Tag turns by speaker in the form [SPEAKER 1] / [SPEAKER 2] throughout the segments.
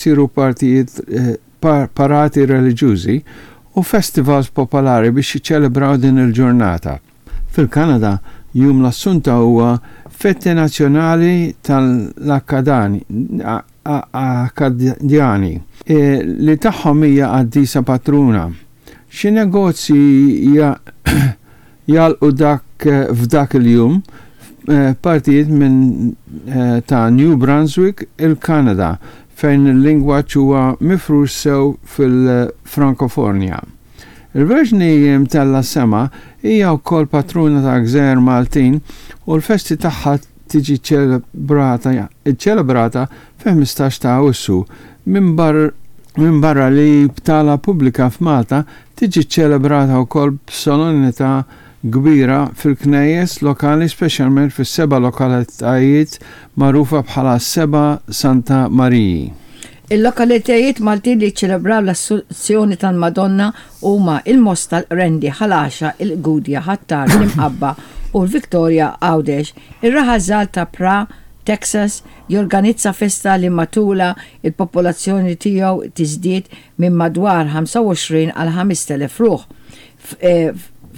[SPEAKER 1] Isiru partijiet parati reliġjużi u festivals popolari biex jiċċelebraw din il-ġurnata. Fil-Kanada, Jum l-Assunta huwa fete nazzjonali tal-Akkadjani, li tagħhom hija qaddisa patruna. Xi negozji jagħlqu dak f'dak il-jum f'partijiet minn ta' New Brunswick, il-Kanada, fejn il-lingwaġġ huwa mifrux sew fil-Frankofonja. Il-Verġni Mtellgħa s-Sema hija wkoll patruna tal-gżejjer Maltin u l-festi tagħha tiġi ċċelebrata fil-15 ta' Awwissu. Minbarra li hi btala pubblika f'Malta, tiġi ċċelebrata wkoll b'solennità kbira fil-knejjes lokali speċjalment fis-seba' lokalitajiet magħrufa bħala s-Seba' Santa Mariji.
[SPEAKER 2] Il-lokalitajiet Maltin li jiċċelebraw l-Assunzjoni tal-Madonna huma il-Mosta, l-Qrendi, Ħal Għaxaq, il-Gudja, Ħ'Attard, l-Imqabba u l-Victoria, Għawdex. Ir-raħal żgħar ta' Pra, Texas, jorganizza festa li matulha l-popolazzjoni tiegħu tiżdied minn madwar 25 għal 5,000 ruħ.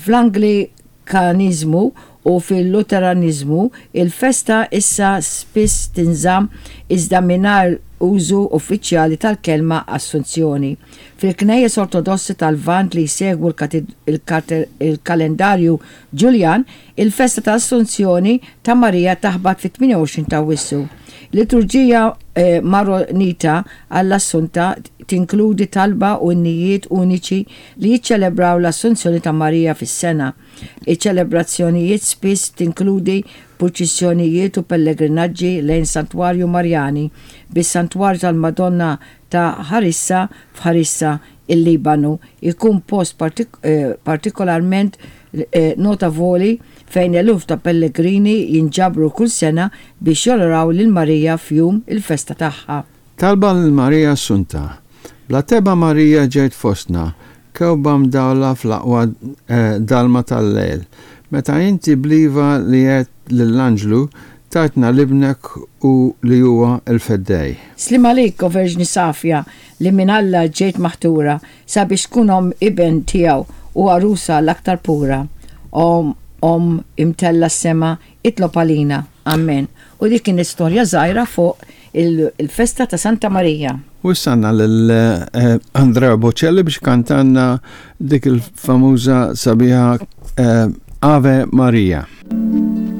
[SPEAKER 2] Fl-Anglikaniżmu u fil-Luteraniżmu, il-festa issa spiss tinżamm iżda mingħajr użu uffiċjali tal-kelma Assunzjoni. Fil-Knejjes Ortodossi tal-Lvant li jsegwu l-kalendarju Ġuljan, Il-festa tal-Assunzjoni ta' Marija taħbat fit-28 ta' Awwissu. Il-liturġija Maronita għall-Assunta tinkludi talba u innijiet uniċi li jiċċelebraw l-Assunzjoni ta' Marija fis-sena. Iċ-ċelebrazzjonijiet spiss tinkludi purċissjonijiet u pellegrinaġġi lejn santwarju Marjani, bis-Santwarju tal-Madonna ta' Ħarissa f'Ħarissa, il-Libanu, jkun post partikolarment notavoli fejn eluf ta' pellegrini jinġabru kull sena biex jonoraw lil Marija f'jum il-festa tagħha.
[SPEAKER 1] Talba lil Marija Assunta. Bla tebgħa Marija ġejt fostna, kewba mdawla fl-aqwa dalma tal-lejl. Meta inti bl-iva li għedt lill-anġlu, tajtna 'l Ibnek u li huwa l-Feddej.
[SPEAKER 2] Sliem għalik, o Verġni safja, li minn Alla ġejt maħtura sabiex tkun omm Iben tiegħu u għarusa l-aktar pura. O Omm imtellgħa s-sema, itlob għalina. Ammen. U dik kienet storja żgħira fuq il-festa ta' Santa Marija.
[SPEAKER 1] U issa għandna lil Andrea Bocelli biex kantanna dik il-famuża sabiħa Ave Maria.